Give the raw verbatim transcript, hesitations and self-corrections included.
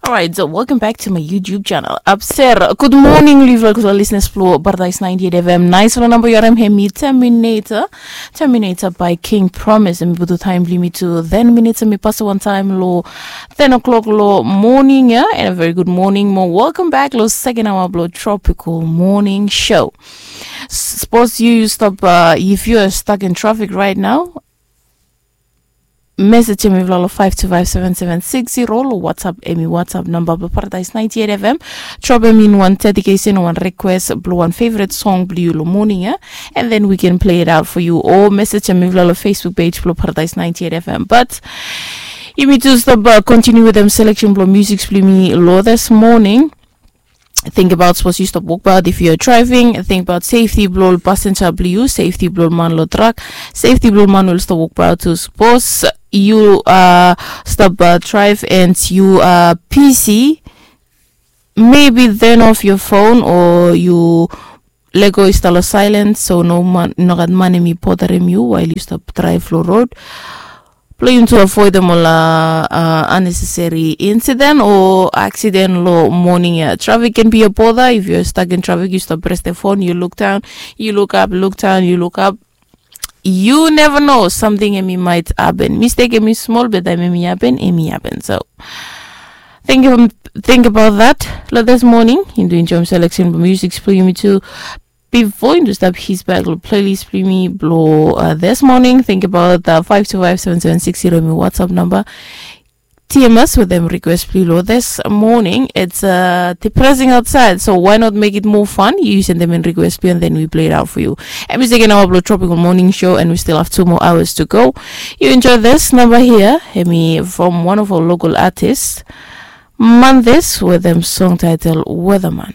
Alright, so welcome back to my YouTube channel. Abser, good morning, live like the listeners flow, Paradise ninety-eight F M. Nice one number your M hemi Terminator. Terminator by King Promise. And we put the time limit to ten minutes and we pass one time low ten o'clock low morning, yeah? And a very good morning, more welcome back low second hour blow tropical morning show. Suppose you stop uh, if you are stuck in traffic right now, message hemi vlalo five two five seven seven six zero lo WhatsApp hemi WhatsApp number blo Paradise ninety-eight F M. Drop hemi in one dedication, one request blo one favorite song blo you lo morning, yeah? And then we can play it out for you. Or message hemi vlalo Facebook page blo Paradise ninety-eight F M. But you need to stop uh, continue with them selection blo music blo me lo this morning. Think about suppose you stop work about if you're driving. Think about safety blo passenger blo you, safety blo man lo truck, safety blo man will stop work about to suppose you uh stop uh, drive and you uh P C. Maybe turn off your phone or you lego is talo silent, so no man no gat man hemi bothering you while you stop drive lo road. Playing to avoid them all uh, uh, unnecessary incident or accident lo morning, yeah. Traffic can be a bother. If you're stuck in traffic, you stop press the phone, you look down, you look up, look down, you look up. You never know, something hemi might happen. Mistake hemi small, but time hemi happen, hemi happen. So think of think about that. Lo this morning, in doing jom selection music, play me too. Before you stop his back lo playlist blo me blo uh, this morning, think about the five two five seven seven six zero me WhatsApp number. T M S with them request blo lo this morning. It's uh, depressing outside, so why not make it more fun? You send them in request blo and then we play it out for you. And we second hour blo tropical morning show, and we still have two more hours to go. You enjoy this number here, hemi from one of our local artists. Mondays with them song title Weatherman.